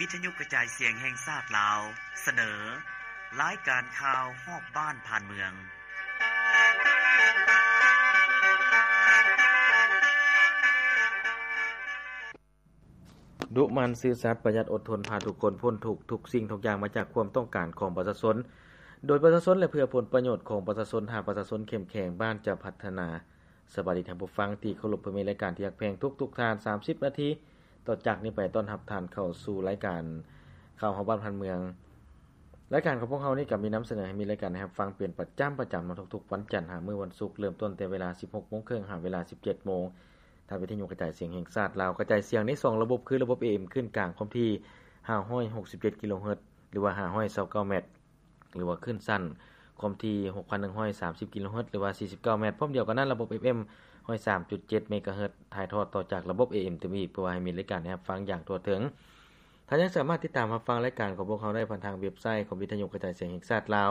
ວິທະຍຸກະຈາຍສຽງແຫ່ງຊາດລາວ ສະເໜີ ລາຍການຂ່າວຮອບບ້ານຜ່ານເມືອງ. ດຸໝັ່ນ, ຊື່ສັດ, ປະຢັດ, ອົດທົນ, ພາທຸກຄົນພົ້ນທຸກ, ທຸກສິ່ງທຸກຢ່າງມາຈາກຄວາມຕ້ອງການຂອງປະຊາຊົນ, ໂດຍປະຊາຊົນ ແລະ ເພື່ອຜົນປະໂຫຍດຂອງປະຊາຊົນ. ຖ້າປະຊາຊົນເຂັ້ມແຂງ, ບ້ານຈະພັດທະນາ. ສະບາຍດີທ່ານຜູ້ຟັງທີ່ເຄົາລົບ, ເພື່ອມີລາຍການທີ່ຮັກແພງທຸກໆທ່ານ. ສາມສິບນາທີຕໍ່ຈາກນີ້ໄປ ຕ້ອນຮັບທ່ານເຂົ້າສູ່ລາຍການຂ່າວຮອບບ້ານຜ່ານເມືອງ. ລາຍການຂອງພວກເຮົານີ້ກໍມີນຳສະເໜີໃຫ້ມີລາຍການໃຫ້ຮັບຟັງເປັນປະຈຳ, ປະຈຳເນາະ, ທຸກໆວັນຈັນຫາມື້ວັນສຸກ, ເລີ່ມຕົ້ນແຕ່ເວລາສິບຫົກໂມງເຄິ່ງ ຫາເວລາສິບເຈັດໂມງ. ທາງວິທະຍຸກະຈາຍສຽງແຫ່ງຊາດລາວ ກະຈາຍສຽງໃນສອງລະບົບ ຄືລະບົບ ເອເອັມ ຂຶ້ນກາງຄວາມຖີ່ຫ້າຮ້ອຍຫົກສິບເຈັດກິໂລເຮີດ ຫຼືວ່າຫ້າຮ້ອຍຊາວເກົ້າແມັດ ຫຼືວ່າຂຶ້ນສັ້ນຄວາມຖີ່ຫົກພັນໜຶ່ງຮ້ອຍສາມສິບກິໂລເຮີດ ຫຼືວ່າສີ່ສິບເກົ້າແມັດ. ພ້ອມດຽວກັນນັ້ນ ລະບົບ ເອຟເອັມ ຮ້ອຍສາມຈຸດເຈັດເມກາເຮີດ ຖ່າຍທອດຕໍ່ຈາກລະບົບ ເອເອັມ ຕື່ມອີກ ເພື່ອວ່າໃຫ້ມີລາຍການໃຫ້ຮັບຟັງຢ່າງທົ່ວເຖິງ. ທ່ານຍັງສາມາດຕິດຕາມຮັບຟັງລາຍການຂອງພວກເຮົາໄດ້ຜ່ານທາງເວັບໄຊຂອງວິທະຍຸກະຈາຍສຽງແຫ່ງຊາດລາວ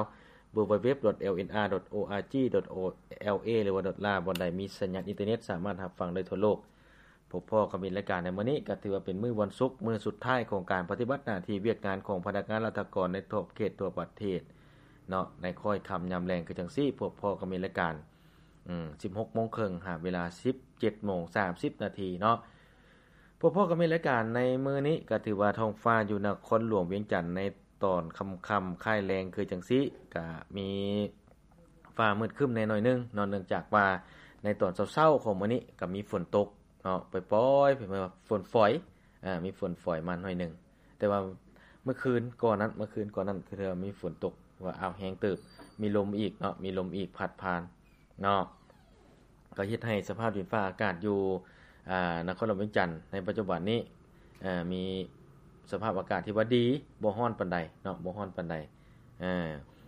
ดัບເບິນຢູດັບເບິນຢູດັບເບິນຢູດັບເບິນຢູ ດອດ ແອລເອັນອາ ດອດ ໂອອາຈີ ດອດ ແອລເອ ຫຼືວ່າ ດອດ ລາ ບ່ອນໃດມີສັນຍານອິນເຕີເນັດ ສາມາດຮັບຟັງໄດ້ທົ່ວໂລກ. ພົບພໍ້ກັບມິດລາຍການໃນມື້ນີ້ ກໍຖືວ່າເປັນມື້ວັນສຸກ ມື້ສຸດທ້າຍຂອງການປະຕິບັດໜ້າທີ່ວຽກງານຂອງພະນັກງານລັດຖະກອນໃນຂອບເຂດທົ່ວປະເທດເນາະ, ໃນຄ້ອຍຄ່ຳຍາມແລງຄືຈັ່ງຊີ້. ພົບພໍ້ກັບມິດລາຍການ ອືມ ສິບຫົກໂມງເຄິ່ງ ຫາເວລາສິບເຈັດໂມງສາມສິບນາທີເນາະ. ພົບພໍ້ກັບມິດລາຍການໃນມື້ນີ້ ກໍຖືວ່າທ້ອງຟ້າຢູ່ນະຄອນຫຼວງວຽງຈັນໃນຕອນຄ່ຳໆ ຄ້າຍແລງຄືຈັ່ງຊີ້ ກະມີຟ້າມືດຄຶ້ມແດ່ໜ້ອຍໜຶ່ງເນາະ, ເນື່ອງຈາກວ່າໃນຕອນເຊົ້າໆຂອງມື້ນີ້ກະມີຝົນຕົກເນາະ ປອຍໆ ເປັນວ່າຝົນຝອຍ ອາ ມີຝົນຝອຍມາໜ້ອຍໜຶ່ງ. ແຕ່ວ່າມື້ຄືນກ່ອນນັ້ນ ມື້ຄືນກ່ອນນັ້ນ ຄືເທື່ອມີຝົນຕົກ ວ່າ ອ້າວ ແຮງເຕີບ ມີລົມອີກເນາະ ມີລົມອີກພັດຜ່ານເນາະ. ກໍເຮັດໃຫ້ສະພາບດິນຟ້າອາກາດຢູ່ ອາ ນະຄອນຫຼວງວຽງຈັນໃນປັດຈຸບັນນີ້ ເອີ ມີສະພາບອາກາດທີ່ວ່າດີ ບໍ່ຮ້ອນປານໃດເນາະ ບໍ່ຮ້ອນປານໃດ ເອີ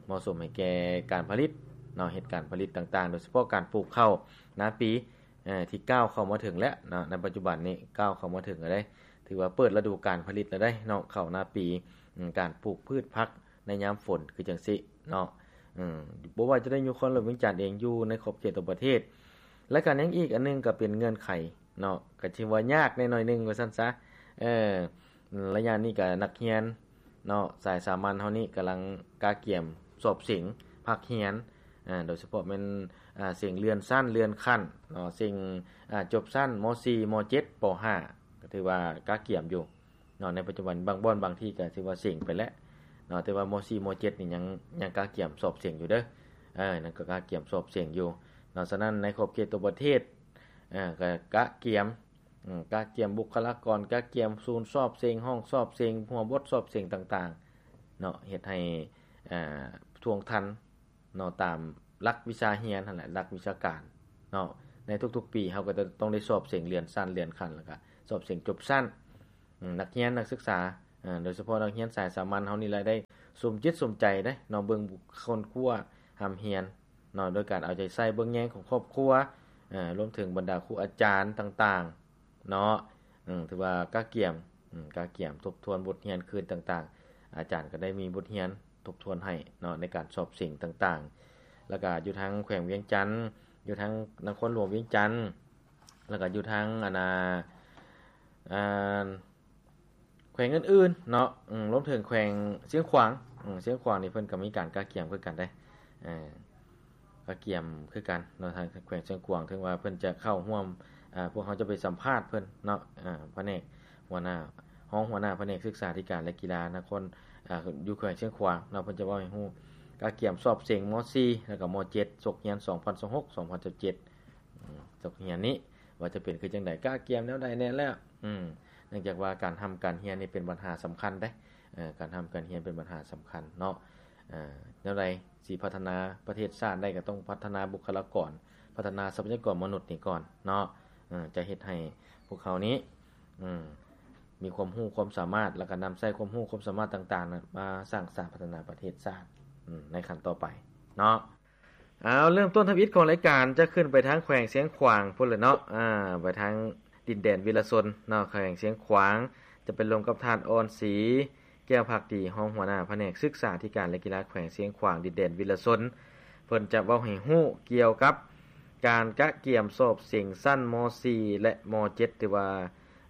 ເໝາະສົມໃຫ້ແກ່ການຜະລິດເນາະ ເຮັດການຜະລິດຕ່າງໆ ໂດຍສະເພາະການປູກເຂົ້ານາປີ ເອີ ທີ່ກ້າວເຂົ້າມາເຖິງແລ້ວເນາະ ໃນປັດຈຸບັນນີ້ກ້າວເຂົ້າມາເຖິງແລ້ວເດ້ ຖືວ່າເປີດລະດູການຜະລິດແລ້ວເດ້ເນາະ ເຂົ້ານາປີ ອາ ການປູກພືດຜັກ ໃນຍາມຝົນຄືຈັ່ງຊີ້ເນາະ ເອີ ບໍ່ວ່າຈະໄດ້ຢູ່ນະຄອນຫຼວງວຽງຈັນເອງ ຢູ່ໃນຂອບເຂດທົ່ວປະເທດ. ແລະກະຍັງອີກອັນໜຶ່ງກໍເປັນເງື່ອນໄຂເນາະ ກໍຖືວ່າຍາກແດ່ໜ້ອຍໜຶ່ງວ່າຊັ້ນຊະ ເອີ ໄລຍະນີ້ກໍນັກຮຽນເນາະ ສາຍສາມັນເຮົານີ້ກຳລັງກະກຽມສອບເສັງພາກຮຽນ ອາ ໂດຍສະເພາະແມ່ນ ອາ ເສັງເລື່ອນຊັ້ນເລື່ອນຂັ້ນເນາະ ເສັງ ອາ ຈົບຊັ້ນ ມໍສີ່ ມໍເຈັດ ປໍຫ້າ ກໍຖືວ່າກະກຽມຢູ່ ເນາະ ໃນປັດຈຸບັນບາງບ່ອນບາງທີ່ກໍຖືວ່າເສັງໄປແລ້ວເນາະ ແຕ່ວ່າ ມໍສີ່ ມໍເຈັດ ນີ້ຍັງ ຍັງກະກຽມສອບເສັງຢູ່ເດີ ເອີ ນັ້ນກໍກະກຽມສອບເສັງຢູ່ເນາະ. ສະນັ້ນໃນຂອບເຂດທົ່ວປະເທດ ເອີ ກໍກະກຽມ ອາ ກະກຽມບຸກຄະລາກອນ ກະກຽມສູນສອບເສັງ ຫ້ອງສອບເສັງ ຫົວບົດສອບເສັງຕ່າງໆເນາະ ເຮັດໃຫ້ ອາ ທ່ວງທັນ ເນາະ ຕາມຫຼັກວິຊາຮຽນຫັ້ນແຫຼະ ຫຼັກວິຊາການເນາະ. ໃນທຸກໆປີເຮົາກໍຈະຕ້ອງໄດ້ສອບເສັງເລື່ອນຊັ້ນເລື່ອນຂັ້ນ ແລ້ວກໍສອບເສັງຈົບຊັ້ນ ອາ ນັກຮຽນນັກສຶກສາ ອາ ໂດຍສະເພາະນັກຮຽນສາຍສາມັນເຮົານີ້ແຫຼະ ໄດ້ສົມຈິດສົມໃຈເດ້ເນາະ ເບິ່ງຄົ້ນຄວ້າຮ່ຳຮຽນເນາະ ໂດຍການເອົາໃຈໃສ່ເບິ່ງແຍງຂອງຄອບຄົວ ອາ ລວມເຖິງບັນດາຄູອາຈານຕ່າງໆ ເນາະ ອາ ຖືວ່າກະກຽມ ອາ ກະກຽມທົບທວນບົດຮຽນຄືນຕ່າງໆ ອາຈານກໍໄດ້ມີບົດຮຽນທົບທວນໃຫ້ເນາະ ໃນການສອບເສັງຕ່າງໆ ແລ້ວກະຢູ່ທາງແຂວງວຽງຈັນ ຢູ່ທາງນະຄອນຫຼວງວຽງຈັນ ແລ້ວກະຢູ່ທາງ ອັນນ່າ ອາ ແຂວງອື່ນໆເນາະ ອາ ລວມເຖິງແຂວງຊຽງຂວາງ ອາ ຊຽງຂວາງນີ້ເພິ່ນກໍມີການກະກຽມຄືກັນເດ້ ອາ ກະກຽມຄືກັນເນາະ ທາງແຂວງຊຽງຂວາງ ເຖິງວ່າເພິ່ນຈະເຂົ້າຮ່ວມ ອາ ພວກເຮົາຈະໄປສຳພາດເພິ່ນເນາະ ອາ ພະແນກຫົວໜ້າ ຮອງຫົວໜ້າພະແນກສຶກສາທິການ ແລະ ກິລານະຄອນ ອາ ຢູ່ແຂວງຊຽງຂວາງເນາະ ເພິ່ນຈະເວົ້າໃຫ້ຮູ້ ກະກຽມສອບເສັງ ມໍສີ່ ແລ້ວກໍ ມໍເຈັດ ສົກຮຽນ ສອງພັນຊາວຫົກ ສອງພັນຊາວເຈັດ ອືມ ສົກຮຽນນີ້ວ່າຈະເປັນຄືຈັ່ງໃດ ກະກຽມແນວໃດແດ່ແລ້ວ ອືມ ເນື່ອງຈາກວ່າການຮ່ຳການຮຽນນີ້ເປັນບັນຫາສຳຄັນເດ້ ເອີ ການຮ່ຳການຮຽນເປັນບັນຫາສຳຄັນເນາະ ເອີ ແນວໃດຊິພັດທະນາປະເທດຊາດໄດ້ ກໍຕ້ອງພັດທະນາບຸກຄະລາກອນ ພັດທະນາຊັບພະຍາກອນມະນຸດນີ້ກ່ອນເນາະ ເອີ ຈະເຮັດໃຫ້ພວກເຮົານີ້ ອືມ ມີຄວາມຮູ້ຄວາມສາມາດ ແລ້ວກໍນຳໃຊ້ຄວາມຮູ້ຄວາມສາມາດຕ່າງໆ ນະ ມາສ້າງສາພັດທະນາປະເທດຊາດ ອືມ ໃນຂັ້ນຕໍ່ໄປເນາະ. ເອົາ ເລີ່ມຕົ້ນທຳອິດຂອງລາຍການຈະຂຶ້ນໄປທາງແຂວງຊຽງຂວາງພຸ້ນແຫຼະເນາະ ອາ ໄປທາງດິນແດນວິລະຊົນເນາະ ແຂວງຊຽງຂວາງ ຈະໄປລົມກັບທ່ານ ອອນສີ ແກ້ວພັກດີ ຮອງຫົວໜ້າພະແນກສຶກສາທິການ ແລະ ກິລາແຂວງຊຽງຂວາງ ດິນແດນວິລະຊົນ ເພິ່ນຈະເວົ້າໃຫ້ຮູ້ກ່ຽວກັບການກະກຽມສອບເສັງຊັ້ນ ມໍສີ່ ແລະ ມໍເຈັດ ທີ່ວ່າ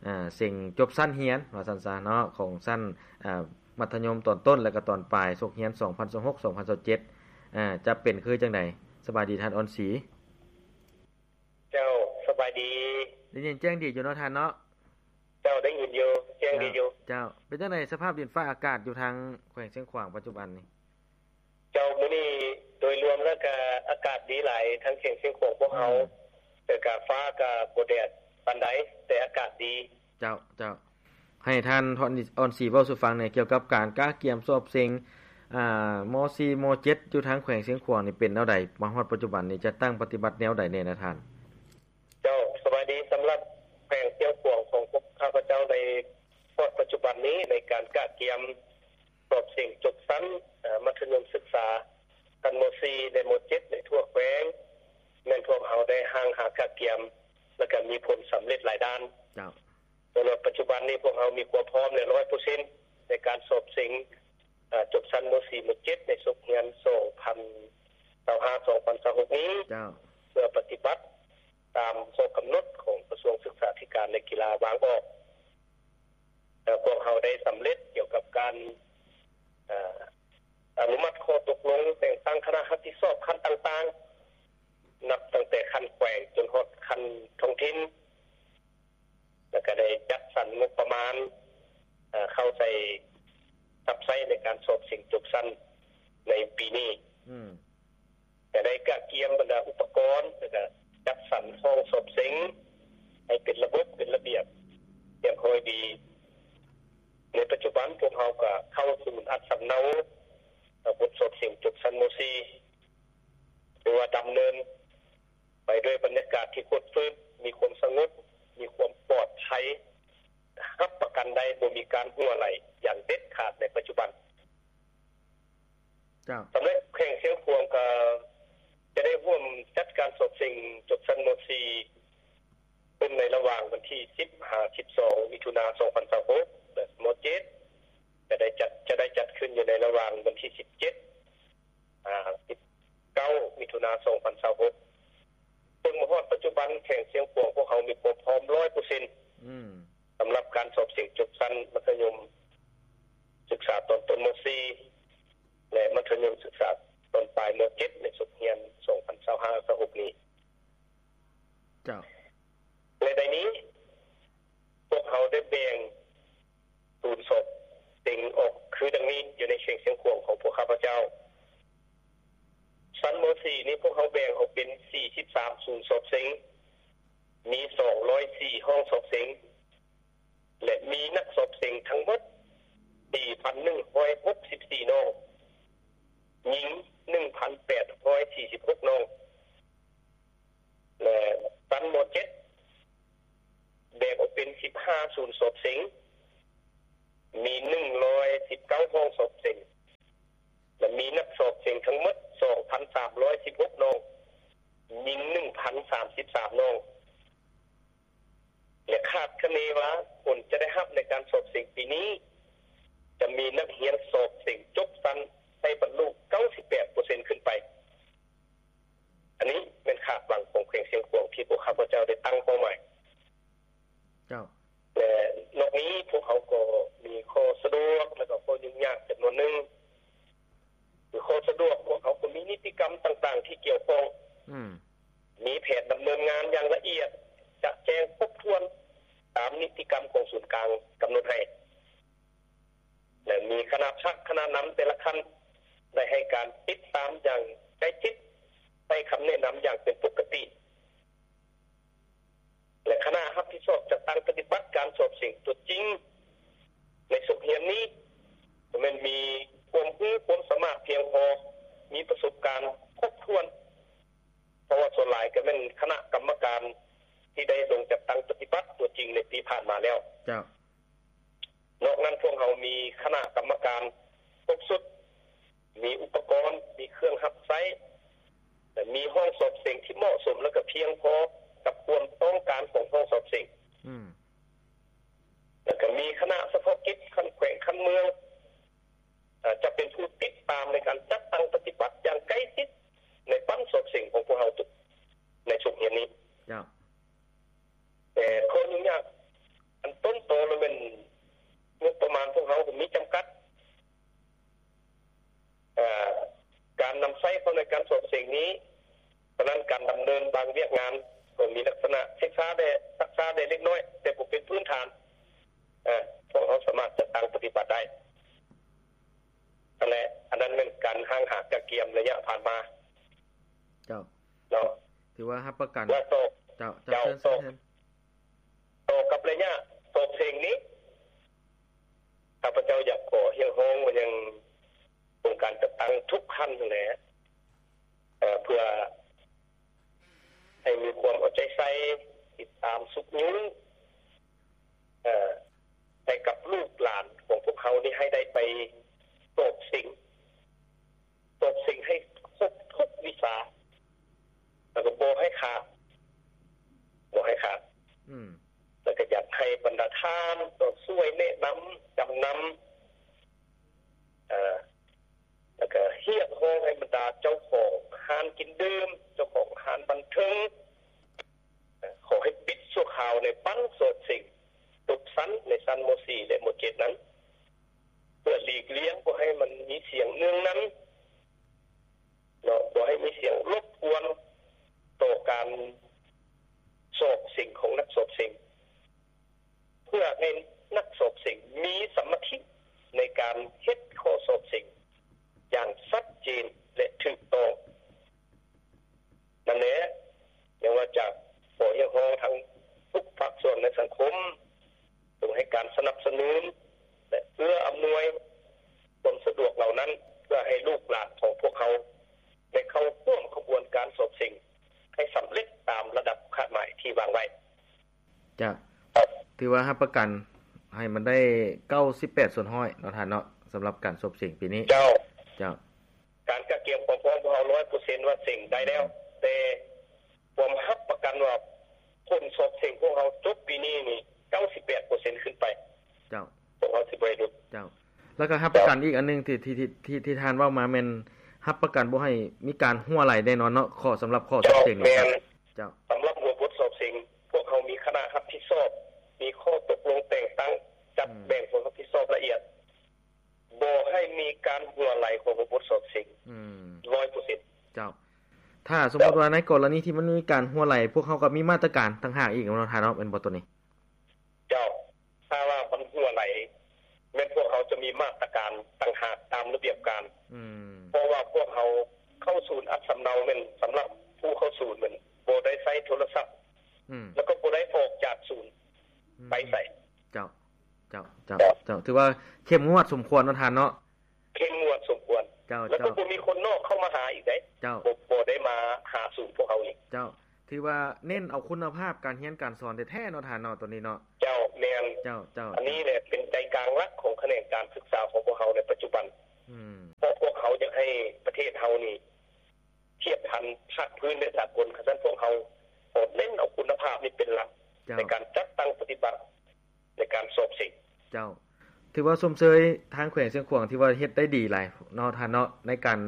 ອາ ເສັງຈົບຊັ້ນຮຽນ ວ່າຊັ້ນຊະເນາະ ຂອງຊັ້ນ ອາ ມັດທະຍົມຕອນຕົ້ນ ແລະກໍຕອນປາຍ ສົກຮຽນສອງພັນຊາວຫົກ ສອງພັນຊາວເຈັດ ອາ ຈະເປັນຄືຈັ່ງໃດ? ສະບາຍດີທ່ານອ່ອນສີ. ເຈົ້າ ສະບາຍດີ. ໄດ້ຍິນແຈ້ງດີຢູ່ເນາະທ່ານເນາະ? ເຈົ້າ ໄດ້ຍິນຢູ່ ແຈ້ງດີຢູ່. ເຈົ້າ ເປັນຈັ່ງໃດສະພາບດິນຟ້າອາກາດຢູ່ທາງແຂວງຊຽງຂວາງປັດຈຸບັນນີ້? ເຈົ້າ ມື້ນີ້ໂດຍລວມແລ້ວກະອາກາດດີຫຼາຍ ທາງແຂວງຊຽງຂວາງພວກເຮົາ ອືມ ແຕ່ກະຟ້າກະບໍ່ແດດປານໃດ ແຕ່ອາກາດດີ. ເຈົ້າ ເຈົ້າ ໃຫ້ທ່ານ ອາ ອ່ອນສີເວົ້າສູ່ຟັງແດ່ ກ່ຽວກັບການກະກຽມສອບເສັງ ອາ ມໍສີ່ ມໍເຈັດ ຢູ່ທາງແຂວງຊຽງຂວາງນີ້ເປັນແນວໃດ? ມາຮອດປັດຈຸບັນນີ້ຈັດຕັ້ງປະຕິບັດແນວໃດແດ່ນະທ່ານ? ເຈົ້າ ສະບາຍດີ. ສຳລັບແຂວງຊຽງຂວາງຂອງພວກຂ້າພະເຈົ້າ ໃນຮອດປັດຈຸບັນນີ້ ໃນການກະກຽມສອບເສັງຈົບຊັ້ນ ອາ ມັດທະຍົມສຶກສາ ຊັ້ນ ມໍສີ່ ແລະ ມໍເຈັດ ໃນທົ່ວແຂວງ ແມ່ນພວກເຮົາໄດ້ຮ່າງຫາກະກຽມ ແລະກະມີຜົນສຳເລັດຫຼາຍດ້ານ. ເຈົ້າ. ສຳລັບປັດຈຸບັນນີ້ ພວກເຮົາມີຄວາມພ້ອມແລ້ວ ຮ້ອຍເປີເຊັນ ໃນການສອບເສັງ ອາ ຈົບຊັ້ນ ມໍສີ່ ມໍເຈັດ ໃນສົກຮຽນ ສອງພັນຊາວຫ້າ ສອງພັນຊາວຫົກ ນີ້ ເຈົ້າ ເພື່ອປະຕິບັດຕາມຂໍ້ກຳນົດຂອງກະຊວງສຶກສາທິການ ແລະ ກິລາວາງອອກ. ແລະ ພວກເຮົາໄດ້ສຳເລັດກ່ຽວກັບການ ອາ ອະນຸມັດຂໍ້ຕົກລົງແຕ່ງຕັ້ງຄະນະຮັບຜິດຊອບຂັ້ນຕ່າງໆ ນັບຕັ້ງແຕ່ຂັ້ນແຂວງຈົນຮອດຂັ້ນທ້ອງຖິ່ນ ແລ້ວກະໄດ້ຈັດສັນງົບປະມານ ເຂົ້າໃສ່ ຮັບໃຊ້ໃນການສອບເສັງຈົບຊັ້ນໃນປີນີ້. ອືມ. ກະໄດ້ກະກຽມບັນດາອຸປະກອນ ແລ້ວກະຈັດສັນຫ້ອງສອບເສັງໃຫ້ເປັນລະບົບ ເປັນລະບຽບ ຮຽບຮ້ອຍດີ. ໃນປັດຈຸບັນພວກເຮົາກະເຂົ້າສູນອັດສຳເນົາ ເອີ ບົດສອບເສັງຈົບຊັ້ນ ມໍສີ່ ຖືວ່າດຳເນີນໄປດ້ວຍບັນຍາກາດທີ່ຄົດຟື້ນ, ມີຄວາມສະຫງົບ, ມີຄວາມປອດໄພ, ຮັບປະກັນໄດ້ບໍ່ມີການຮົ່ວໄຫຼຢ່າງເດັດຂາດໃນປັດຈຸບັນ. ເຈົ້າ. ສຳລັບແຂວງຊຽງຂວາງກໍຈະໄດ້ຮ່ວມຈັດການສອບເສັງຈົບຊັ້ນ ມໍສີ່ ຂຶ້ນໃນລະຫວ່າງວັນທີສິບຫາສິບສອງ ມິຖຸນາ ສອງພັນຊາວຫົກ ແລະ ມໍເຈັດ ຈະໄດ້ຈັດ ຈະໄດ້ຈັດຂຶ້ນຢູ່ໃນລະຫວ່າງວັນທີສິບເຈັດ ຫາ ສິບເກົ້າ ມິຖຸນາ ສອງພັນຊາວຫົກ ເຊິ່ງມາຮອດປັດຈຸບັນ ແຂວງຊຽງຂວາງພວກເຮົາມີຄວາມພ້ອມ ຮ້ອຍເປີເຊັນ ອືມ ສຳລັບການສອບເສັງຈົບຊັ້ນມັດທະຍົມສຶກສາຕອນຕົ້ນ ມໍສີ່ ແລະ ມັດທະຍົມສຶກສາຕອນປາຍ ມໍເຈັດ ໃນສົກຮຽນ ສອງພັນຊາວຫ້າ ຊາວຫົກ ນີ້. ເຈົ້າ. ແລະ ໃນນີ້ ພວກເຮົາໄດ້ແບ່ງສູນສອບເສັງອອກຄືດັ່ງນີ້ ຢູ່ໃນແຂວງຊຽງຂວາງຂອງພວກຂ້າພະເຈົ້າ. ຊັ້ນ ມໍສີ່ ນີ້ ພວກເຮົາແບ່ງອອກເປັນ ສີ່ສິບສາມ ສູນສອບເສັງ, ມີ ສອງຮ້ອຍສີ່ ຫ້ອງສອບເສັງ ແລະ ມີນັກສອບເສັງທັງໝົດ ສີ່ພັນໜຶ່ງຮ້ອຍຫົກສິບສີ່ ນ້ອງ, ຍິງ ໜຶ່ງພັນແປດຮ້ອຍສີ່ສິບຫົກ ນ້ອງ ແລະ ຊັ້ນ ມໍເຈັດ ແບ່ງອອກເປັນ ສິບຫ້າ ສູນສອບເສັງ, ມີ ໜຶ່ງຮ້ອຍສິບເກົ້າ ຫ້ອງສອບເສັງ ແລະ ມີນັກສອບເສັງທັງໝົດ ສອງພັນສາມຮ້ອຍສິບຫົກ ນ້ອງ, ຍິງ ໜຶ່ງພັນສາມສິບສາມ ນ້ອງ ແລະ ຄາດຄະເນວ່າຜົນຈະໄດ້ຮັບໃນການສອບເສັງປີນີ້ ຈະມີນັກຮຽນສອບເສັງຈົບຊັ້ນໄດ້ບັນລຸ ເກົ້າສິບແປດເປີເຊັນ ຂຶ້ນໄປ. ອັນນີ້ແມ່ນຄາດຫວັງຂອງແຂວງຊຽງຂວາງທີ່ພວກຂ້າພະເຈົ້າໄດ້ຕັ້ງເປົ້າໝາຍ. ເຈົ້າ. ແລະ ນອກນີ້ພວກເຮົາກໍມີຂໍ້ສະດວກ ແລະ ກໍຂໍ້ຫຍຸ້ງຍາກຈຳນວນໜຶ່ງ. ຄືຂໍ້ສະດວກ ພວກເຮົາກໍມີນິຕິກຳຕ່າງໆທີ່ກ່ຽວຂ້ອງ, ອືມ ມີແຜນດຳເນີນງານຢ່າງລະອຽດ, ຈະແຈ້ງຄົບຖ້ວນຕາມນິຕິກຳຂອງສູນກາງກຳນົດໃຫ້. ແລະ ມີຄະນະພັກຄະນະນຳແຕ່ລະຂັ້ນ ໄດ້ໃຫ້ການຕິດຕາມຢ່າງໃກ້ຊິດ, ໃຫ້ຄຳແນະນຳຢ່າງເປັນປົກກະຕິ ແລະ ຄະນະຮັບຜິດຊອບຈັດຕັ້ງປະຕິບັດການສອບເສັງຕົວຈິງໃນສົກຮຽນນີ້ ກໍແມ່ນມີຄວາມຮູ້ຄວາມສາມາດພຽງພໍ, ມີປະສົບການຄົບຖ້ວນ, ເພາະວ່າສ່ວນຫຼາຍກໍແມ່ນຄະນະກຳມະການທີ່ໄດ້ລົງຈັດຕັ້ງປະຕິບັດຕົວຈິງໃນປີຜ່ານມາແລ້ວ. ເຈົ້າ. ນອກນັ້ນພວກເຮົາມີຄະນະກຳມະການຄົບຊຸດ, ມີອຸປະກອນ, ມີເຄື່ອງຮັບໃຊ້ ແລະ ມີຫ້ອງສອບເສັງທີ່ເໝາະສົມ ແລະ ກໍພຽງພໍກັບຄວາມຕ້ອງການຂອງຫ້ອງສອບເສັງ. ອືມ. ແລະ ກໍມີຄະນະສະເພາະກິດຂັ້ນແຂວງຂັ້ນເມືອງ ເອີ່ ຈະເປັນຜູ້ຕິດຕາມໃນການຈັດຕັ້ງປະຕິບັດຢ່າງໃກ້ຊິດໃນປັ້ນສອບເສັງຂອງພວກເຮົາໃນຊຸດຮຽນນີ້. ເຈົ້າ. ແຕ່ຂໍ້ຫຍຸ້ງຍາກ ຕົ້ນຕໍແລ້ວແມ່ນງົບປະມານພວກເຮົາກໍມີຈຳກັດ ເອີ່ ການນຳໃຊ້ເຂົ້າໃນການສອບເສັງນີ້, ສະນັ້ນການດຳເນີນບາງວຽກງານກໍມີລັກສະນະສຶກສາແດ່, ຮັກສາແດ່ເລັກນ້ອຍ, ແຕ່ບໍ່ເປັນພື້ນຖານ. ເອີ່ ພວກເຮົາສາມາດຈັດຕັ້ງປະຕິບັດໄດ້. ນັ້ນແຫຼະ, ອັນນັ້ນແມ່ນການຮ່າງຫາກະກຽມໄລຍະຜ່ານມາ. ເຈົ້າ. ເນາະ. ຖືວ່າຮັບປະກັນ. ແລະຕໍ່, ເຈົ້າ, ເຈົ້າ, ເຈົ້າ, ເຊີນ, ຕໍ່, ເຊີນ. ຕໍ່ກັບໄລຍະສອບເສັງນີ້, ຂ້າພະເຈົ້າຢາກຂໍຮຽກຮ້ອງມາຍັງອົງການຈັດຕັ້ງທຸກຂັ້ນຫັ້ນແຫຼະ, ເອີ່, ເພື່ອໃຫ້ມີຄວາມເອົາໃຈໃສ່, ຕິດຕາມຊຸກຍູ້, ເອີ່, ໃຫ້ກັບລູກຫຼານຂອງພວກເຮົານີ້ໃຫ້ໄດ້ໄປສອບເສັງ, ສອບເສັງໃຫ້ຄົບທຸກວິຊາ ແລ້ວກໍບໍ່ໃຫ້ຂາດ, ບໍ່ໃຫ້ຂາດ. ອືມ. ແລ້ວກໍຢາກໃຫ້ບັນດາທ່ານກໍຊ່ວຍແນະນຳ, ຈຳນຳ, ເອີ່, ແລ້ວກໍຮຽກຮ້ອງໃຫ້ບັນດາເຈົ້າຂອງຮ້ານກິນດື່ມ, ເຈົ້າຂອງຮ້ານບັນເທີງ, ຂໍໃຫ້ປິດຊົ່ວຄາວໃນບັ້ນສອບເສັງທຸກຊັ້ນ, ໃນຊັ້ນ ມໍສີ່ ແລະ ມໍເຈັດ ນັ້ນ, ເພື່ອຫຼີກລ່ຽງບໍ່ໃຫ້ມັນມີສຽງເນືອງນຳ, ເນາະ, ບໍ່ໃຫ້ມີສຽງລົບກວນຕໍ່ການສອບເສັງຂອງນັກສອບເສັງ, ເພື່ອໃຫ້ນັກສອບເສັງມີສະມາທິໃນການເຮັດຂໍ້ສອບເສັງຢ່າງຊັດເຈນ ແລະ ຖືກຕ້ອງ. ນັ້ນແຫຼະ, ຍັງວ່າຈະຂໍຮຽກຮ້ອງທັງທຸກພາກສ່ວນໃນສັງຄົມ ຈົ່ງໃຫ້ການສະໜັບສະໜູນ ແລະ ເອື້ອອຳນວຍຄວາມສະດວກເຫຼົ່ານັ້ນ ເພື່ອໃຫ້ລູກຫຼານຂອງພວກເຮົາໄດ້ເຂົ້າຮ່ວມຂະບວນການສອບເສັງໃຫ້ສຳເລັດຕາມລະດັບຄາດໝາຍທີ່ວາງໄວ້. ເຈົ້າ. ຖືວ່າຮັບປະກັນໃຫ້ມັນໄດ້ເກົ້າສິບແປດສ່ວນຮ້ອຍເນາະທ່ານເນາະ, ສຳລັບການສອບເສັງປີນີ້. ເຈົ້າ. ເຈົ້າ. ການກະກຽມຄວາມພ້ອມຂອງເຮົາຮ້ອຍເປີເຊັນວ່າເສັງໄດ້ແລ້ວ, ແຕ່ພວມຮັບປະກັນວ່າຜົນສອບເສັງພວກເຮົາຈົບປີນີ້ນີ້ເກົ້າສິບແປດເປີເຊັນຂຶ້ນໄປ. ເຈົ້າ. ພວກເຮົາຊິບໍ່ໃຫ້ຫຼຸດ. ເຈົ້າ. ແລ້ວກໍຮັບປະກັນອີກອັນໜຶ່ງທີ່ ທີ່ ທີ່ ທີ່ ທີ່ທ່ານເວົ້າມາແມ່ນຮັບປະກັນບໍ່ໃຫ້ມີການຮົ່ວໄຫຼແນ່ນອນເນາະ, ຂໍ້ສຳລັບຂໍ້ສອບເສັງ. ເຈົ້າ, ແມ່ນ. ເຈົ້າ. ສຳລັບຫົວບົດສອບເສັງ ພວກເຮົາມີຄະນະຮັບຜິດຊອບ, ມີຂໍ້ຕົກລົງແຕ່ງຕັ້ງ, ຈັດແບ່ງຄວາມຮັບຜິດຊອບລະອຽດ. ບໍ່ໃຫ້ມີການຮົ່ວໄຫຼຂອງບົດສອບເສັງ ອືມ ຮ້ອຍເປີເຊັນ. ເຈົ້າ. ຖ້າສົມມຸດວ່າໃນກໍລະນີທີ່ມັນມີການຮົ່ວໄຫຼ ພວກເຮົາກໍມີມາດຕະການຕ່າງຫາກອີກເນາະທ່ານເນາະ, ແມ່ນບໍ່ໂຕນີ້? ເຈົ້າ. ຖ້າວ່າມັນຮົ່ວໄຫຼ ແມ່ນພວກເຮົາຈະມີມາດຕະການຕ່າງຫາກຕາມລະບຽບການ. ອືມ. ເພາະວ່າພວກເຮົາເຂົ້າສູນອັດສຳເນົາແມ່ນສຳລັບຜູ້ເຂົ້າສູນ ແມ່ນບໍ່ໄດ້ໃຊ້ໂທລະສັບ ອືມ ແລ້ວກໍບໍ່ໄດ້ອອກຈາກສູນ ອືມ ໄປໃສ. ເຈົ້າ. ເຈົ້າ ເຈົ້າ ເຈົ້າ ເຈົ້າ ຖືວ່າເຂັ້ມງວດສົມຄວນເນາະທ່ານເນາະ. ເຂັ້ມງວດສົມຄວນ. ເຈົ້າ ແລ້ວກໍ ເຈົ້າ ບໍ່ມີຄົນນອກເຂົ້າມາຫາອີກເດ້. ເຈົ້າ. ບໍ່ ບໍ່ໄດ້ມາຫາສູນພວກເຮົາອີກ. ເຈົ້າ. ຖືວ່າເນັ້ນເອົາຄຸນນະພາບການຮຽນການສອນແທ້ໆເນາະທ່ານເນາະ ໂຕນີ້ເນາະ. ເຈົ້າ ແມ່ນ. ເຈົ້າ ເຈົ້າ. ອັນນີ້ແຫຼະເປັນໃຈກາງຫຼັກຂອງຂະແໜງການສຶກສາຂອງພວກເຮົາໃນປັດຈຸບັນ. ອືມ. ເພາະພວກເຮົາຢາກໃຫ້ປະເທດເຮົານີ້ທຽບທັນພາກພື້ນ ແລະ ສາກົນ, ຄັນຊັ້ນພວກເຮົາຂໍເນັ້ນເອົາຄຸນນະພາບນີ້ເປັນຫຼັກ ເຈົ້າ ໃນການຈັດຕັ້ງປະຕິບັດ ໃນການສອບເສັງ. ເຈົ້າ. ຖືວ່າຊົມເຊີຍທາງແຂວງຊຽງຂວາງທີ່ວ່າເຮັດໄດ້ດີຫຼາຍເນາະທ່ານເນາະ ໃນການ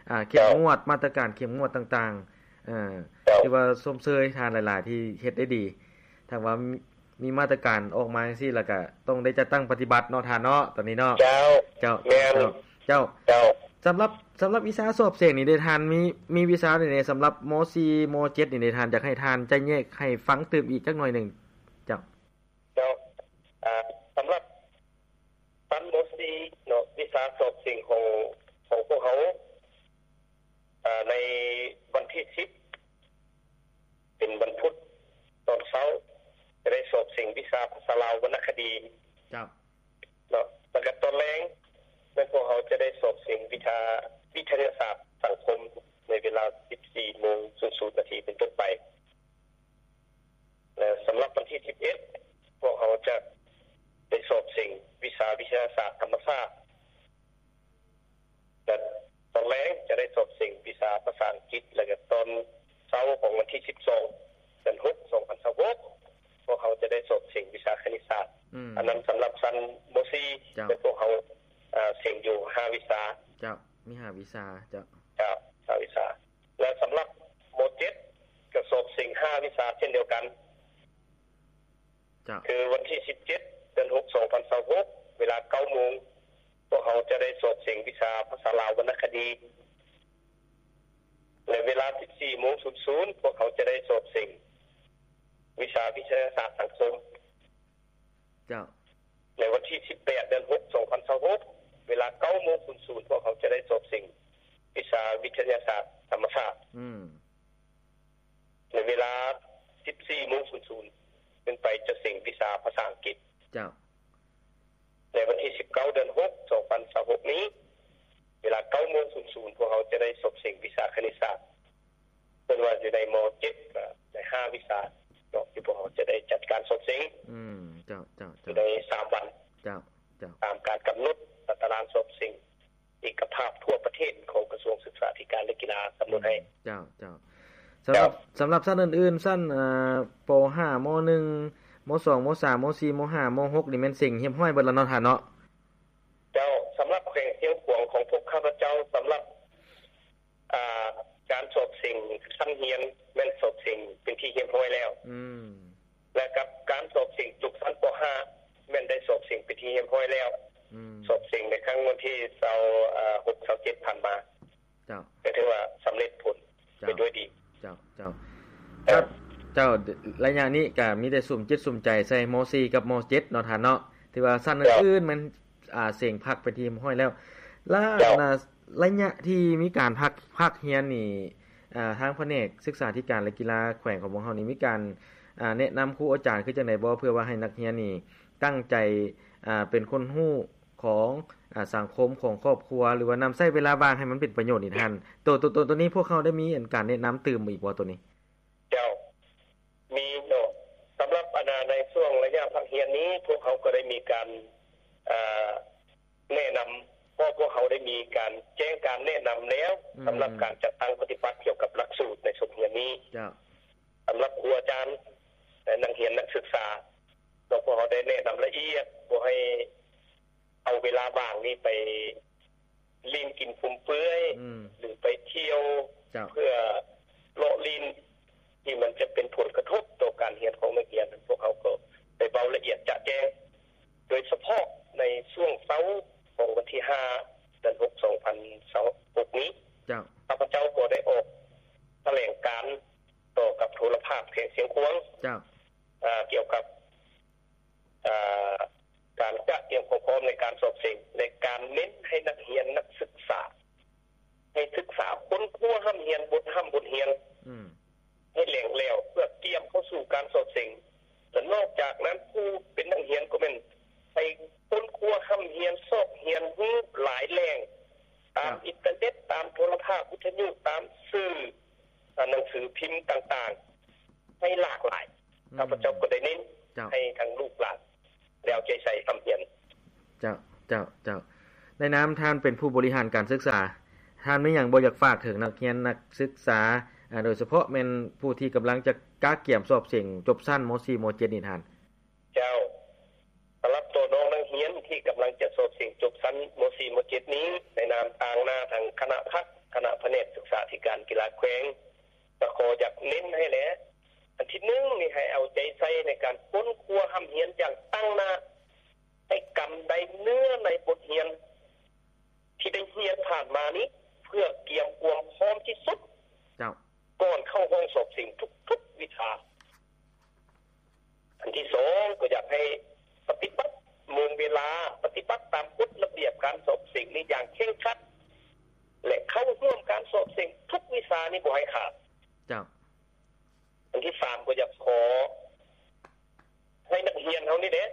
ອ່າ ເຂັ້ມງວດ ເຈົ້າ ມາດຕະການເຂັ້ມງວດຕ່າງໆ ເອີ ເຈົ້າ ຖືວ່າຊົມເຊີຍທ່ານຫຼາຍໆທີ່ເຮັດໄດ້ດີ. ຖ້າວ່າມີ ມີມາດຕະການອອກມາຈັ່ງຊີ້ ແລ້ວກະຕ້ອງໄດ້ຈັດຕັ້ງປະຕິບັດເນາະທ່ານເນາະ ຕອນນີ້ເນາະ. ເຈົ້າ. ເຈົ້າ ແມ່ນ. ເຈົ້າ ເຈົ້າ. ເຈົ້າ. ສຳລັບ ສຳລັບວິຊາສອບເສັງນີ້ເດທ່ານ ມີ ມີວິຊາໃດແດ່ ສຳລັບ ມໍສີ່ ມໍເຈັດນີ້ເດທ່ານ ຢາກໃຫ້ທ່ານຈະແຍກໃຫ້ຟັງຕື່ມອີກຈັກໜ້ອຍໜຶ່ງ. ເຈົ້າ. ເຈົ້າ. ອ່າ ສຳລັບຊັ້ນ ມໍສີ່ ເນາະ ວິຊາສອບເສັງຂອງ ຂອງພວກເຮົາ ອ່າ ໃນວັນທີສິບ ເປັນວັນພຸດຕອນເຊົ້າ ຈະໄດ້ສອບເສັງວິຊາພາສາລາວວັນນະຄະດີ. ເຈົ້າ. ເນາະ ແລ້ວກໍຕອນແລງ ແມ່ນພວກເຮົາຈະໄດ້ສອບເສັງວິຊາ ວິທະຍາສາດສັງຄົມ ໃນເວລາ ສິບສີ່ໂມງສູນນາທີ ເປັນຕົ້ນໄປ. ແລະ ສຳລັບວັນທີສິບເອັດ ພວກເຮົາຈະໄດ້ສອບເສັງວິຊາວິທະຍາສາດທຳມະຊາດ ແລະ ຕອນແລງຈະໄດ້ສອບເສັງວິຊາພາສາອັງກິດ ແລະ ກໍຕອນເຊົ້າຂອງວັນທີສິບສອງ ເດືອນຫົກ ສອງພັນຊາວຫົກ ພວກເຮົາຈະໄດ້ສອບເສັງວິຊາຄະນິດສາດ. ອືມ. ອັນນັ້ນສຳລັບຊັ້ນ ມໍສີ່ ເຈົ້າ. ແລະ ພວກເຮົາ ເອີ ເສັງຢູ່ຫ້າວິຊາ. ເຈົ້າ. ມີຫ້າວິຊາ. ເຈົ້າ. ເຈົ້າ. ຫ້າວິຊາ. ແລະ ສຳລັບ ມໍເຈັດ ກໍສອບເສັງຫ້າວິຊາເຊັ່ນດຽວກັນ. ເຈົ້າ ຄືວັນທີສິບເຈັດ ເດືອນຫົກ ສອງພັນຊາວຫົກ ເວລາເກົ້າໂມງ ພວກເຮົາຈະໄດ້ສອບເສັງວິຊາພາສາລາວວັນນະຄະດີ ແລະ ເວລາສິບສີ່ໂມງສູນສູນ ພວກເຮົາຈະໄດ້ສອບເສັງວິຊາວິທະຍາສາດສັງຄົມ. ເຈົ້າ ໃນວັນທີສິບແປດ ເດືອນຫົກ ສອງພັນຊາວຫົກ ເວລາເກົ້າໂມງສູນສູນ ພວກເຮົາຈະໄດ້ສອບເສັງວິຊາວິທະຍາສາດທຳມະຊາດ. ອືມ ໃນເວລາສິບສີ່ໂມງສູນສູນ ເປັນໄປຈະເສັງວິຊາພາສາອັງກິດ. ເຈົ້າ ໃນວັນທີສິບເກົ້າ ເດືອນຫົກ ສອງພັນຊາວຫົກນີ້ ເວລາເກົ້າໂມງສູນສູນ ພວກເຮົາຈະໄດ້ສອບເສັງວິຊາຄະນິດສາດ. ເພິ່ນວ່າຢູ່ໃນ ມໍເຈັດ ກໍໄດ້ຫ້າວິຊາເນາະ ທີ່ພວກເຮົາຈະໄດ້ຈັດການສອບເສັງ. ອືມ ເຈົ້າ ເຈົ້າ ເຈົ້າ ຢູ່ໃນສາມວັນ. ເຈົ້າ ເຈົ້າ ຕາມການກຳນົດຕາຕະລາງສອບເສັງ ເອກະພາບທົ່ວປະເທດຂອງກະຊວງສຶກສາທິການ ແລະ ກິລາກຳນົດໃຫ້. ເຈົ້າ ເຈົ້າ ສຳລັບ ເຈົ້າ ສຳລັບຊັ້ນອື່ນໆ ຊັ້ນ ອ່າ ປໍຫ້າ ມໍໜຶ່ງ ມໍສອງ ມໍສາມ ມໍສີ່ ມໍຫ້າ ມໍຫົກ ນີ້ແມ່ນເສັງຮຽບຮ້ອຍເບິດແລ້ວເນາະທ່ານເນາະ? ເຈົ້າ ສຳລັບແຂວງຊຽງຂວາງຂອງພວກຂ້າພະເຈົ້າ ສຳລັບ ອ່າ ການສອບເສັງຊັ້ນຮຽນແມ່ນສອບເສັງເປັນທີ່ຮຽບຮ້ອຍແລ້ວ. ອືມ ແລະ ກັບການສອບເສັງຈົບຊັ້ນ ປໍຫ້າ ແມ່ນໄດ້ສອບເສັງເປັນທີ່ຮຽບຮ້ອຍແລ້ວ. ອືມ ສອບເສັງໃນຄັ້ງວັນທີຊາວຫົກ ຊາວເຈັດ ຜ່ານມາ. ເຈົ້າ ກໍຖືວ່າສຳເລັດຜົນ ເຈົ້າ ໄປດ້ວຍດີ. ເຈົ້າ ເຈົ້າ ເຈົ້າ ເຈົ້າ ໄລຍະນີ້ກໍມີແຕ່ສຸມຈິດສຸມໃຈໃສ່ ມໍສີ່ ກັບ ມໍເຈັດ ເນາະທ່ານເນາະ ຖືວ່າຊັ້ນ ເຈົ້າ ອື່ນໆ ມັນ ອ່າ ເສັງພັກເປັນທີ່ຮຽບຮ້ອຍແລ້ວ. ລະ ເຈົ້າ ອັນນ່າ ໄລຍະທີ່ມີການພັກ ພັກຮຽນນີ້ ອ່າ ທາງພະແນກສຶກສາທິການ ແລະ ກິລາແຂວງຂອງພວກເຮົານີ້ ມີການ ອ່າ ແນະນຳຄູອາຈານຄືຈັ່ງໃດບໍ່ ເພື່ອວ່າໃຫ້ນັກຮຽນນີ້ຕັ້ງໃຈ ອ່າ ເປັນຄົນຮູ້ຂອງ ອ່າ ສັງຄົມ ຂອງຄອບຄົວ ຫຼືວ່ານຳໃຊ້ເວລາວ່າງໃຫ້ມັນເປັນປະໂຫຍດນີ້ທ່ານ? ໂຕ ໂຕ ໂຕ ໂຕນີ້ພວກເຮົາໄດ້ມີ ອັນ ການແນະນຳຕື່ມອີກບໍ່ໂຕນີ້? ເຈົ້າ ມີເນາະ ສຳລັບ ອັນນ່າ ໃນຊ່ວງໄລຍະພັກຮຽນນີ້ ພວກເຮົາກໍໄດ້ມີການ ອ່າ ແນະນຳ ເພາະພວກເຮົາໄດ້ມີການແຈ້ງການແນະນຳແລ້ວ ອືມ ສຳລັບການຈັດຕັ້ງປະຕິບັດກ່ຽວກັບຫຼັກສູດໃນສົກຮຽນນີ້. ເຈົ້າ ສຳລັບຄູອາຈານ ແລະ ນັກຮຽນນັກສຶກສາ ເນາະ ພວກເຮົາໄດ້ແນະນຳລະອຽດ ບໍ່ໃຫ້ເອົາເວລາວ່າງນີ້ໄປຫຼິ້ນກິນຟຸມເຟືອຍ ອືມ ຫຼືໄປທ່ຽວ ເຈົ້າ ເພື່ອເລາະຫຼິ້ນ ທີ່ມັນຈະເປັນຜົນກະທົບຕໍ່ການຮຽນຂອງນັກຮຽນ. ພວກເຮົາກໍໄດ້ເວົ້າລະອຽດຈະແຈ້ງ ໂດຍສະເພາະໃນຊ່ວງເຊົ້າຂອງວັນທີຫ້າ ເດືອນຫົກ ສອງພັນຊາວຫົກນີ້ ເຈົ້າ ຂ້າພະເຈົ້າກໍໄດ້ອອກຖະແຫຼງການຕໍ່ກັບໂທລະພາບແຂວງຊຽງຂວາງ ເຈົ້າ ອາ ກ່ຽວກັບ ອາ ການກະກຽມຄວາມພ້ອມໃນການສອບເສັງ ແລະ ການເນັ້ນໃຫ້ນັກຮຽນນັກສຶກສາ ໃຫ້ສຶກສາຄົ້ນຄວ້າຮ່ຳຮຽນບົດຮ່ຳບົດຮຽນ ອືມ ໃຫ້ແຫຼງແຫຼວ ເພື່ອກຽມເຂົ້າສູ່ການສອບເສັງ. ແລະ ນອກຈາກນັ້ນ ຜູ້ເປັນນັກຮຽນກໍແມ່ນໃຫ້ຄົ້ນຄວ້າຮ່ຳຮຽນ ຊອກຮຽນຮູ້ຫຼາຍແຫຼ່ງ ຕາມ ເຈົ້າ ອິນເຕີເນັດ ຕາມໂທລະພາບ ວິທະຍຸ ຕາມສື່ ອ່າ ໜັງສືພິມຕ່າງໆ ໃຫ້ຫຼາກຫຼາຍ. ອືມ ຂ້າພະເຈົ້າກໍໄດ້ເນັ້ນ ເຈົ້າ ໃຫ້ທັງລູກຫຼານ ແລ້ວໃຈໃສ່ຮ່ຳຮຽນ. ເຈົ້າ ເຈົ້າ ເຈົ້າ. ໃນນາມທ່ານເປັນຜູ້ບໍລິຫານການສຶກສາ, ທ່ານມີຫຍັງບໍ່ຢາກຝາກເຖິງນັກຮຽນນັກສຶກສາ, ອາ, ໂດຍສະເພາະແມ່ນຜູ້ທີ່ກຳລັງຈະກະກຽມສອບເສັງຈົບຊັ້ນ ມໍສີ່ ມໍເຈັດ ນີ້ທ່ານ? ເຈົ້າ, ສຳລັບໂຕນ້ອງນັກຮຽນທີ່ກຳລັງຈະສອບເສັງຈົບຊັ້ນ ມໍສີ່ ມໍເຈັດ ນີ້, ໃນນາມທາງໜ້າທາງຄະນະພັກ, ຄະນະພະແນກສຶກສາທິການກິລາແຂວງ, ກໍຂໍຢາກເນັ້ນໃຫ້ແຫຼະ, ອັນທີໜຶ່ງນີ້ ໃຫ້ເອົາໃຈໃສ່ໃນການຄົ້ນຄວ້າຮ່ຳຮຽນຢ່າງຕັ້ງໜ້າ, ໃຫ້ກຳໄດ້ເນື້ອໃນບົດຮຽນທີ່ໄດ້ຮຽນຜ່ານມານີ້ ເພື່ອກຽມຄວາມພ້ອມທີ່ສຸດ ເຈົ້າ ກ່ອນເຂົ້າຫ້ອງສອບເສັງທຸກໆວິຊາ. ອັນທີສອງ ກໍຢາກໃຫ້ປະຕິບັດໂມງເວລາ, ປະຕິບັດຕາມກົດລະບຽບການສອບເສັງນີ້ຢ່າງເຄັ່ງຄັດ ແລະ ເຂົ້າຮ່ວມການສອບເສັງທຸກວິຊານີ້ບໍ່ໃຫ້ຂາດ. ເຈົ້າ. ອັນທີສາມ ກໍຢາກຂໍໃຫ້ນັກຮຽນເຮົານີ້ແຫຼະ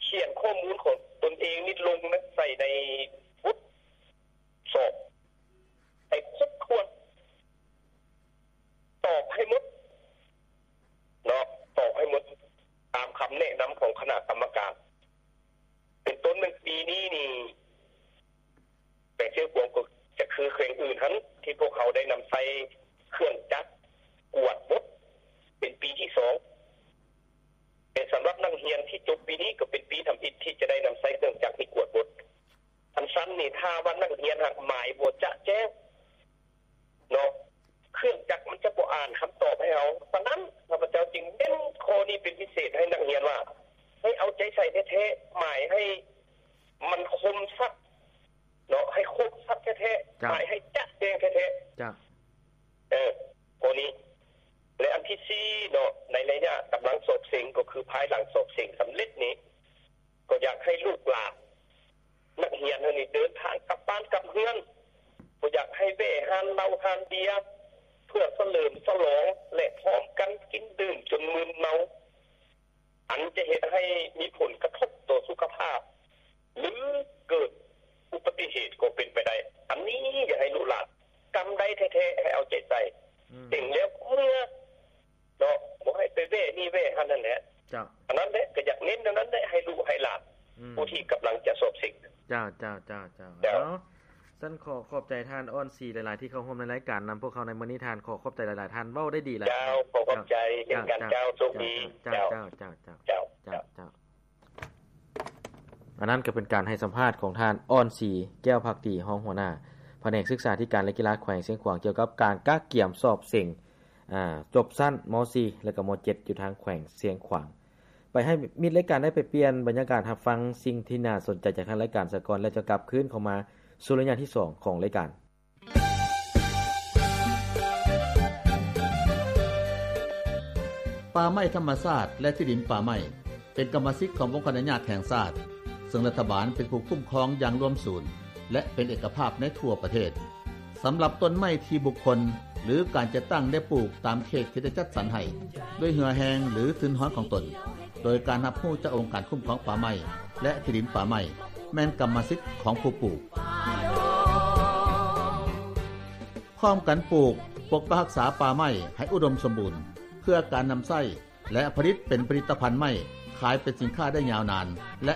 ຂຽນຂໍ້ມູນຂອງຕົນເອງນີ້ລົງໃສ່ໃນບົດສອບໃຫ້ຄົບຖ້ວນ, ຕອບໃຫ້ໝົດເນາະ, ຕອບໃຫ້ໝົດຕາມຄຳແນະນຳຂອງຄະນະກຳມະການ. ເປັນຕົ້ນແມ່ນປີນີ້ນີ້ ແຂວງຊຽງຂວາງກໍຈະຄືແຂວງອື່ນຫັ້ນ ທີ່ພວກເຮົາໄດ້ນຳໃຊ້ເຄື່ອງຈັກກວດບົດເປັນປີທີສອງ, ແຕ່ສຳລັບນັກຮຽນທີ່ຈົບປີນີ້ກໍເປັນປີທຳອິດທີ່ຈະໄດ້ນຳໃຊ້ເຄື່ອງຈັກນີ້ກວດບົດ. ອັນຊັ້ນນີ້ ຖ້າວ່ານັກຮຽນຫາກໝາຍບໍ່ຈະແຈ້ງເນາະ, ເຄື່ອງຈັກມັນຈະບໍ່ອ່ານຄຳຕອບໃຫ້ເຮົາ. ສະນັ້ນ ຂ້າພະເຈົ້າຈຶ່ງເນັ້ນຂໍ້ນີ້ເປັນພິເສດໃຫ້ນັກຮຽນວ່າ ໃຫ້ເອົາໃຈໃສ່ແທ້ໆ ໝາຍໃຫ້ມັນຄົມຊັດເນາະ ໃຫ້ຄົມຊັດແທ້ໆ ເຈົ້າ ໝາຍໃຫ້ຈະແຈ້ງແທ້ໆ ເຈົ້າ ເອີ ຂໍ້ນີ້ ແລະ ອັນທີສີ່ເນາະ ໃນໄລຍະກຳລັງສອບເສັງ ກໍຄືພາຍຫຼັງສອບເສັງສຳເລັດນີ້ ກໍຢາກໃຫ້ລູກຫຼານ ນັກຮຽນເຮົານີ້ເດີນທາງກັບບ້ານກັບເຮືອນ, ບໍ່ຢາກໃຫ້ແວ່ຮ້ານເຫຼົ້າຮ້ານເບຍ ເພື່ອສະເຫຼີມສະຫຼອງ ແລະ ພ້ອມກັນກິນດື່ມຈົນມຶນເມົາ, ອັນຈະເຮັດໃຫ້ມີຜົນກະທົບຕໍ່ສຸຂະພາບ ຫຼື ເກີດອຸບັດຕິເຫດກໍເປັນໄປໄດ້. ອັນນີ້ຢາກໃຫ້ລູກຫຼານ ກຳໄດ້ແທ້ໆ ໃຫ້ເອົາໃຈໃສ່ ອືມ ເສັງແລ້ວເມືອ ເນາະ ບໍ່ໃຫ້ໄປແວ່ນີ້ແວ່ຫັ້ນນັ້ນແຫຼະ. ເຈົ້າ ອັນນັ້ນແຫຼະ ກໍຢາກເນັ້ນແນວນັ້ນແຫຼະ ໃຫ້ລູກໃຫ້ຫຼານ ອືມ ຜູ້ທີ່ກຳລັງຈະສອບເສັງ. ເຈົ້າ ເຈົ້າ ເຈົ້າ ເຈົ້າ ເຈົ້າ. ເອົາ ຊັ້ນຂໍຂອບໃຈທ່ານ ອ່ອນສີ ຫຼາຍໆ ທີ່ເຂົ້າຮ່ວມໃນລາຍການນຳພວກເຮົາໃນມື້ນີ້. ທ່ານ ຂໍຂອບໃຈຫຼາຍໆ ທ່ານເວົ້າໄດ້ດີຫຼາຍ. ເຈົ້າ ຂໍຂອບໃຈເຊັ່ນກັນ. ເຈົ້າ ເຈົ້າ ໂຊກດີ. ເຈົ້າ ເຈົ້າ ເຈົ້າ ເຈົ້າ ເຈົ້າ ເຈົ້າ. ອັນນັ້ນກໍເປັນການໃຫ້ສຳພາດຂອງທ່ານ ອ່ອນສີ ແກ້ວພັກດີ ຮອງຫົວໜ້າພະແນກສຶກສາທິການ ແລະ ກິລາແຂວງຊຽງຂວາງ ກ່ຽວກັບການກະກຽມສອບເສັງ ອາ ຈົບຊັ້ນ ມໍສີ່ ແລະ ກໍ ມໍເຈັດ ຢູ່ທາງແຂວງຊຽງຂວາງ. ໄປໃຫ້ມິດລາຍການໄດ້ໄປປ່ຽນບັນຍາກາດຮັບຟັງສິ່ງທີ່ໜ້າສົນໃຈຈາກທາງລາຍການສາກ່ອນ ແລ້ວຈະກັບຄືນເຂົ້າມາສູ່ໄລຍະທີສອງຂອງລາຍການ. ປ່າໄມ້ທຳມະຊາດ ແລະ ທີ່ດິນປ່າໄມ້ ເປັນກຳມະສິດຂອງວົງຄະອະນຸຍາດແຫ່ງຊາດ, ເຊິ່ງລັດຖະບານເປັນຜູ້ຄຸ້ມຄອງຢ່າງລວມສູນ ແລະ ເປັນເອກະພາບໃນທົ່ວປະເທດ. ສຳລັບຕົ້ນໄມ້ທີ່ບຸກຄົນ ຫຼື ການຈັດຕັ້ງໄດ້ປູກຕາມເຂດທີ່ໄດ້ຈັດສັນໃຫ້ ດ້ວຍເຫື່ອແຮງ ຫຼື ທຶນຮອນຂອງຕົນ ໂດຍການຮັບຮູ້ຈາກອົງການຄຸ້ມຄອງປ່າໄມ້ ແລະ ທີ່ດິນປ່າໄມ້ ແມ່ນກຳມະສິດຂອງຜູ້ປູກ. ພ້ອມກັນປູກ, ປົກປັກຮັກສາປ່າໄມ້ໃຫ້ອຸດົມສົມບູນ ເພື່ອການນຳໃຊ້ ແລະ ຜະລິດເປັນຜະລິດຕະພັນໄມ້ ຂາຍເປັນສິນຄ້າໄດ້ຍາວນານ ແລະ